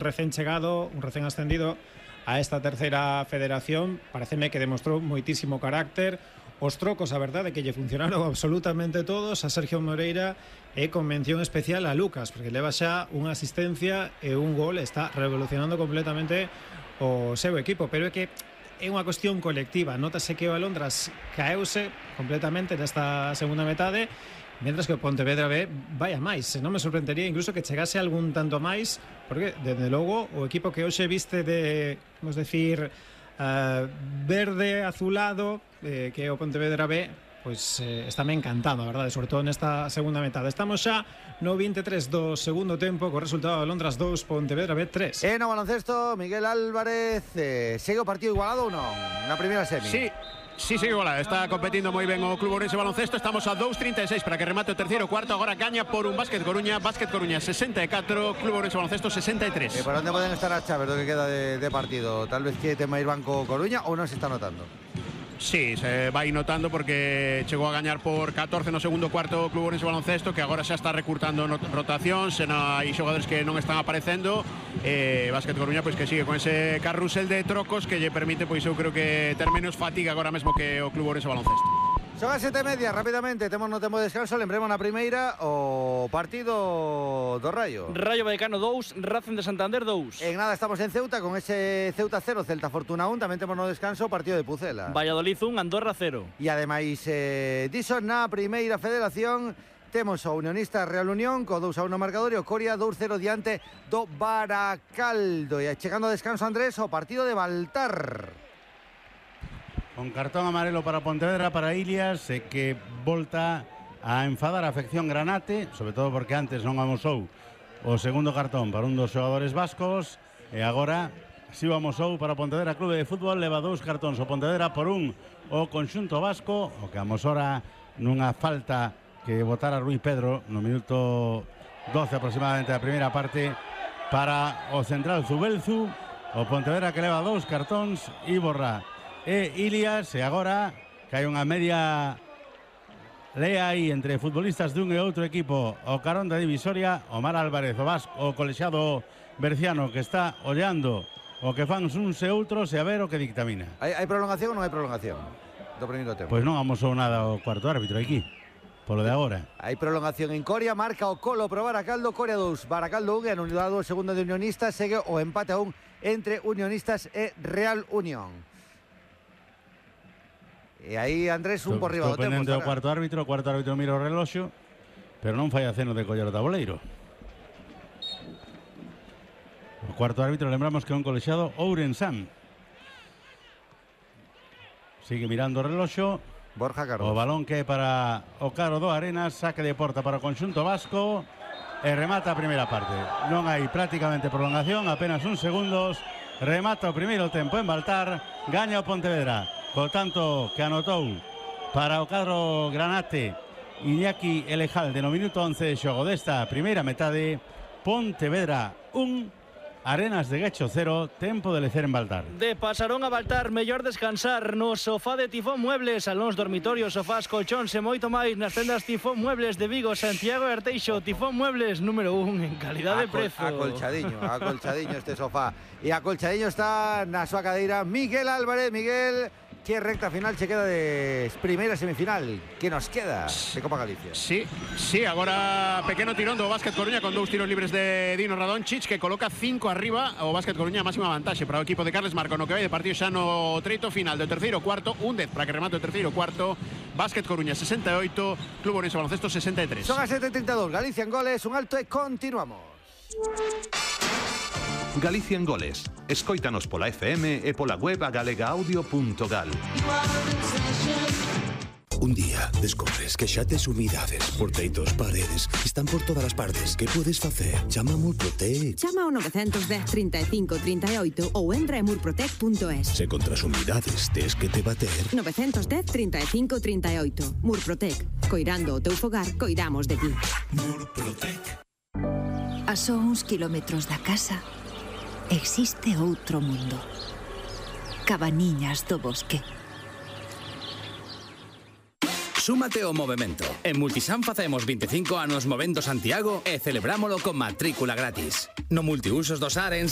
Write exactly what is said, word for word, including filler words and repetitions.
Recién chegado, un recién ascendido a esta terceira federación, pareceme que demostrou moitísimo carácter. Os trocos, a verdade, que lle funcionaron absolutamente todos a Sergio Moreira, e con mención especial a Lucas, porque leva xa unha asistencia e un gol, está revolucionando completamente o seu equipo, pero é que é unha cuestión colectiva. Notase que o Alondras caeuse completamente nesta segunda metade, mentras que o Pontevedra B vai a máis. Non me sorprendería incluso que chegase algún tanto máis, porque, desde logo, o equipo que hoxe viste de, vamos decir, uh, verde azulado, eh, que é o Pontevedra B, pois eh, estáme encantando, a verdade, sobre todo nesta segunda metade. Estamos xa no vinte e tres do segundo tempo, co resultado de Londras dous, Pontevedra B tres. E no baloncesto, Miguel Álvarez, eh, segue o partido igualado ou non? Na primeira semi. Sí. Sí, sí, igual, está competindo moi ben o Club Ourense Baloncesto. Estamos a dos trinta e seis para que remate o terceiro cuarto. Agora gaña por un Básquet Coruña. Básquet Coruña sesenta e catro, Club Ourense Baloncesto sesenta e tres. E por onde poden estar as chaves do que queda de, de partido? Tal vez que tema ir banco Coruña ou non se está notando? Sí, se vai notando porque chegou a gañar por catorce no segundo cuarto o Club Ourense Baloncesto, que agora xa está recurtando rotación, se non hai xogadores que non están aparecendo. E Básquet Coruña pois que sigue con ese carrusel de trocos que lle permite, pois eu creo que ter menos fatiga agora mesmo que o Club Ourense Baloncesto. Son as sete e media, rapidamente, temos no tempo de descanso. Lembremos na primeira o partido do Rayo. Rayo Vallecano dous, Racing de Santander dous. En nada estamos en Ceuta con ese Ceuta cero, Celta Fortuna un. Tamén temos no descanso o partido de Pucela. Valladolid un, Andorra cero. E ademais, eh, diso na primeira federación, temos o Unionista Real Unión co dous a uno marcador e o Coria dous cero diante do Baracaldo. E chegando a descanso, Andrés, o partido de Baltar. Con cartón amarelo para Pontevedra, para Ilias, e que volta a enfadar a afección granate, sobre todo porque antes non amosou o segundo cartón para un dos xogadores vascos, e agora si o amosou para Pontevedra Clube de Fútbol. Leva dous cartóns o Pontevedra por un o conxunto vasco, o que amosora nunha falta que botara Rui Pedro no minuto doce aproximadamente da primeira parte para o central Zubelzu. O Pontevedra que leva dous cartóns, Iborra e Ilias, e agora que hai unha media lea aí entre futbolistas dun e outro equipo o carón da divisoria. Omar Álvarez, o vasco, o colexiado berciano, que está ollando o que fan uns e outros e a ver o que dictamina. Hai, hai prolongación ou non hai prolongación do primeiro tempo? Pois non amosou nada o cuarto árbitro aquí, polo de agora. Hai prolongación en Coria, marca o Colo pro Baracaldo, Coria dous, Baracaldo un, e anulado o segundo de Unionistas. Segue o empate a un entre Unionistas e Real Unión. E aí, Andrés, un por riba do tempo. Estou pendente do cuarto árbitro, o cuarto árbitro mira o reloxo, pero non fai aceno de coller o tabuleiro. O cuarto árbitro, lembramos que é un colexiado ourensán. Sigue mirando o reloxo. Borja Carlos. O balón que é para o Caro do Arenas, saque de porta para o conxunto vasco e remata a primeira parte. Non hai prácticamente prolongación, apenas uns segundos. Remata o primeiro tempo en Baltar, gaña o Pontevedra, co tanto que anotou para o cadro granate Iñaki Elejalde no minuto once de xogo desta primeira metade. Pontevedra un, Arenas de Guecho cero, tempo de lecer en Baltar. De Pasarón a Baltar, mellor descansar no sofá de Tifón Muebles, salóns, dormitorios, sofás, colchóns e moito máis nas tendas Tifón Muebles de Vigo, Santiago e Arteixo. Tifón Muebles número un en calidad de prezo. Acolchadiño, acolchadiño este sofá. E acolchadiño está na súa cadeira Miguel Álvarez. Miguel, que recta final che queda de primeira semifinal que nos queda de Copa Galicia? Sí, sí, agora pequeno tirón do Básquet Coruña con dous tiros libres de Dino Radončić, que coloca cinco arriba o Básquet Coruña, máxima vantaxe para o equipo de Carles Marco no que vai de partido xa no treito final do terceiro cuarto. Un dez para que remate o terceiro cuarto. Básquet Coruña sesenta e oito, Club Ourense Baloncesto sesenta e tres. Son as sete e trinta e dous, Galicia en goles, un alto e continuamos. Galicia en goles. Escóitanos pola F M e pola web a galega audio punto gal. Un día descobres que xa tes umidades, porteitos, paredes, están por todas as partes. Que podes facer? Chama a Murprotec. Chama ao nove un cero, trinta e cinco, trinta e oito ou entra en murprotec punto es. Se contra as umidades tes que te bater. nove un cero, trinta e cinco, trinta e oito. Murprotec. Coirando o teu fogar, coidamos de ti. Murprotec. A só uns kilómetros da casa existe outro mundo. Cabaniñas do Bosque. Súmate ao movemento. En Multisan facemos vinte e cinco anos movendo Santiago e celebrámolo con matrícula gratis. No multiusos do Sar en